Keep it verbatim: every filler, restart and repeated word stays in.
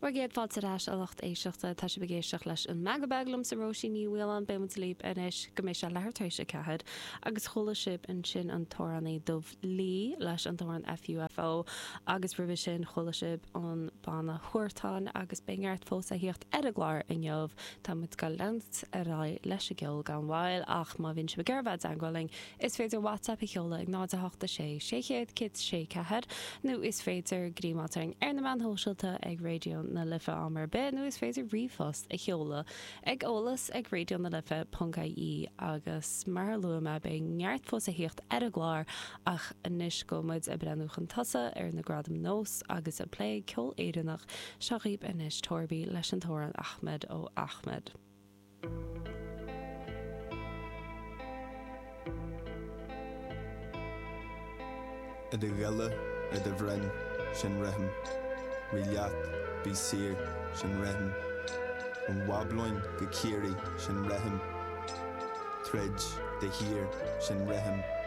Bhur gcéad fáilte ar ais, a lucht éisteachta. Tá sibh ag éisteacht leis an Meangadh Beag liomsa Róisín Ní Mhaoláin. Beidh muid libh anois go mbeidh sé leathuair tar éis a ceathair. Agus chuala sibh ansin an t-amhránaí Dubh Lee leis an t-amhrán FUFO agus roimhe sin chuala sibh an banna Huartan agus beidh neart fós a thíocht ar an gclár inniu. Tá muid ag leanúint ar aghaidh leis an gceol gan mhoill ach má bhíonn sibh ag iarraidh bheith i dteagmháil linn is féidir WhatsApp a sheoladh ag náid a hocht a sé sé chéad céad sé ceathair nó is féidir greamáil orainn ar na meáin shóisialta ag Raidió na Life am ar bith nó is féidir ríomhphost a sheoladh ag eolas ag raidió na life ponc ie agus mar a luaigh mé beidh neart fós a thíocht ar an gclár ach anois go muid ag breathnú chun tosaigh ar na Gradaim Nós agus ag plé ceol Éireannach seo dhaoibh anois Torby leis an t-amhrán Ahmed ó Ahmed. I do ghile, ar do bhroinn, sin rithim. Rith leat, bí saor, sin rithim. Ón mBablóin go Ciarraí, sin rithim. Troid, de shíor, sin rithim.